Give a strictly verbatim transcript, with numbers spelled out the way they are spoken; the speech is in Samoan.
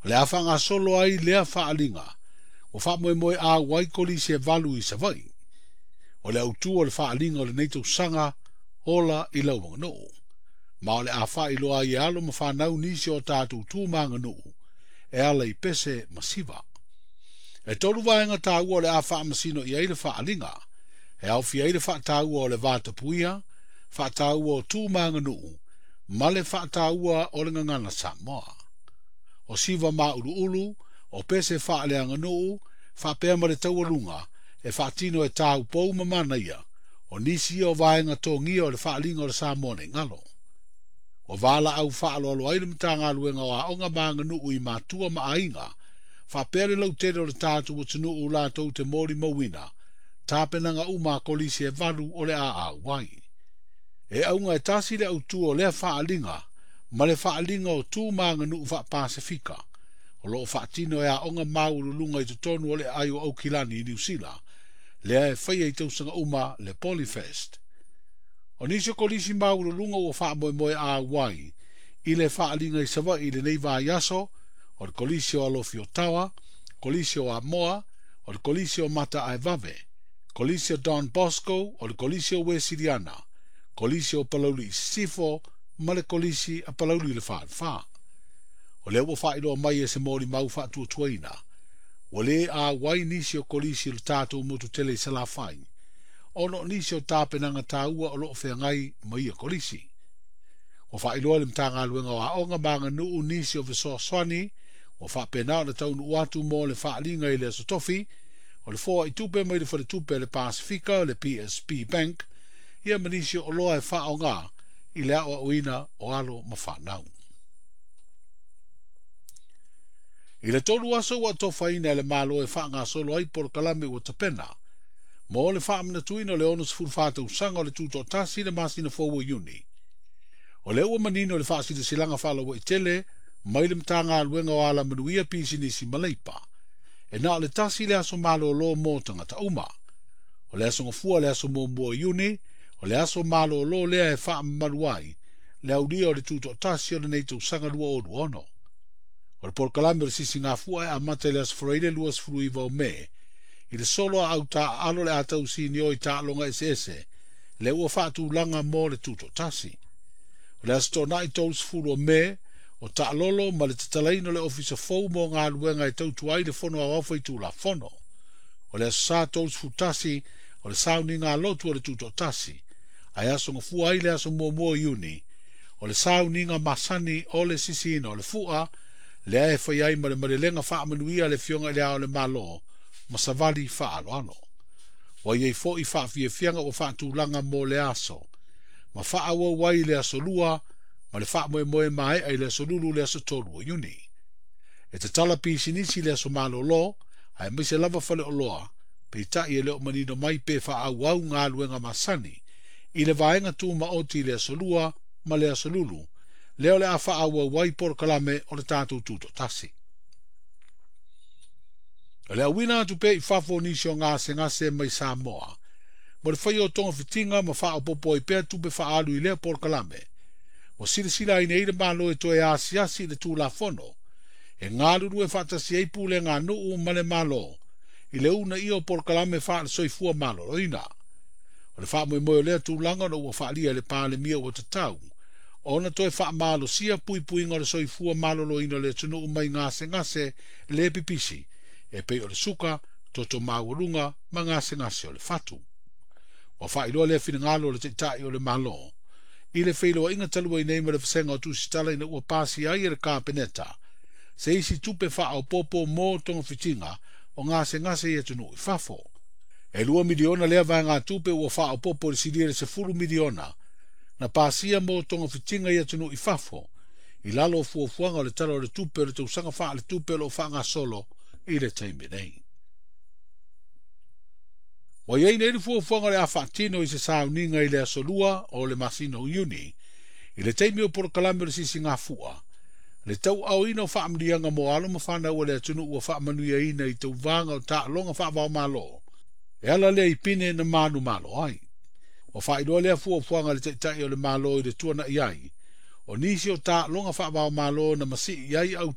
O le a faagasolo ai lea faaaliga, ua faamoemoe auai kolisi e valu i Savaii. O le autū o le faaaliga o lenei tausaga ola i lau aganuu. Ma o le a faailoa ai e alo ma fanau nisi o tatou tu ma aganuu e ala i pese ma siva. E tolu vaega taua o le a faamasino i ai le faaaliga. E aofia ai le faataua o le vatapuia, faataua o tu ma aganuu, ma le faataua o le gagana Samoa. O siva mauluulu, o pese faaleaganuu, faapea ma le taualuga, e faatino e taupou ma manaia, o nisi ia o vaega togia o le faaaliga o le Samoa nei galo. Ua valaau faaaloalo ai le Matagaluega o Aoga ma Aganuu i matua ma aiga, faapea le lautele o le tatou atunuu latou te molimauina, tapenaga uma a kolisi e valu o le a auai. E auga e tasi le autū o lea faaaliga, ma le faaaliga o tu ma aganuu faapasifika, o loo faatino e aoga maualuluga i totonu o le aai o Aukilani i Niu Sila, lea e faia i tausaga uma le Polyfest. O nisi o kolisi maualuluga ua faamoemoe auai i le faaaliga i Savaii i lenei vaiaso, o le kolisi o Alofi Otawa, kolisi o Amoa, o le kolisi o Mataaevave, kolisi o Don Bosco, o le kolisi o Wesiliana, kolisi o Palauli i Sisifo, ma le kolisi a Palauli le Falefa. O lea ua faailoa mai e se molimau faatuatuaina, ua le auai nisi o kolisi o le tatou motu tele i Salafai, ona o nisi o tapenaga taua o loo feagai ma ia kolisi. Ua faailoa le Matagaluega o Aoga ma Aganuu nisi o fesoasoani, ua faapena ona taunuu atu mo le faaaliga i le Aso Tofi, o le foai tupe mai le faletupe a le Pasifika, le P S P Bank, ia ma nisi o oloa e faaaoga i le aoaoina o alo ma fanau. I le tolu aso ua atofaina e le Malo e faagasolo ai polokalame ua tapena, mo le faamanatuina o le onosefulufa tausaga o le tutoatasi le masina fou o Iuni. O lea ua manino le faasilasilaga faalauaitele mai le Matagaluega o Alamanuia Pisinisi ma Leipa. E na o le tasi le aso malolo mo tagata uma. O le aso Gafua le aso muamua o Iuni, o le aso malolo lea e faamamalu ai le aulia o le tutoatasi o lenei tausaga lua o lua ono. O le polokalame o le sisigafua e amata i le aso Faraile luasefuluiva o Me, i le solo a autaaalo le a tausinio i taaloga eseese, lea ua faatulaga mo le tutoatasi. O le aso Toonai tolusefulu o Me, o taalolo ma le tatalaina o le ofisa fou mo galuega e tautua ai le fono aoao faitulafono. O le aso Sa tolusefulu tasi, o le sauniga lotu o le tutoatasi, ae aso Gafua ai le aso muamua o Iuni, o le sauniga masani o le sisiina o le fua, lea e fai ai ma le malelega faamanuia le Afioga i le Ao o le Malo, ma savali faaaloalo. Ua iai foi faafiafiaga ua faatulaga mo le aso, ma faaauau ai le aso lua, ma le faamoemoe maea i le aso lulu le aso tolu o Iuni. E tatala pisinisi le aso malolo, aemaise lava faleoloa, peitai e le o manino mai pe faaauau galuega masani, i le vaega tumaoti i le aso lua ma le aso lulu, lea o le a faaauau ai polokalame o le tatou tutoatasi. O le auina atu pea i fafo o nisi o gasegase mai Samoa, mo le faia o togafitiga ma faaopoopo ai pea tupe faaalu i lea polokalame, ua silasila ai nei le Malo e toe asiasi i le Tulafono, e galulue faatasi ai pulega a nuu ma le Malo, i le uunaia o polokalame faale-soifua maloloina. O le faamoemoe o lea tulaga ona ua faalia e le Palemia ua tatau, ona toe faamalosia puipuiga o le soifua maloloina o le atunuu mai gasegase le pipisi, e pei o le suka, toto maualuga ma gasegase o le fatu. Ua faailoa lea finagalo o le Taitai o le Malo, i le feiloaiga talu ai nei ma le vasega o tusitala ina ua pasia ai e le Kapeneta, se isi tupe faaopoopo mo togafitiga o gasegase i atunuu i fafo. E lua miliona lea vaegatupe ua faaopoopo i le silia i le sefulu miliona, na pasia mo togafitiga i atunuu i fafo, i lalo o fuafuaga o le Tala o le Tupe o le tausaga faaletupe o loo faagasolo i le taimi nei. Ua iai nei le fuafuaga o le a faatino i se sauniga i le aso lua o le masina o Iuni, i le taimi o polokalame o le sisigafua, le tauaoina o faamanuiaga mo alo ma fanau o le atunuu ua faamanuiaina i tauvaga o taaloga faavaomalo, e ala lea i pine na manumalo ai. Ua faailoa lea fuafuaga le Taitai o le Malo i le tuanai ai, o nisi o taaloga faavaomalo na masii ai au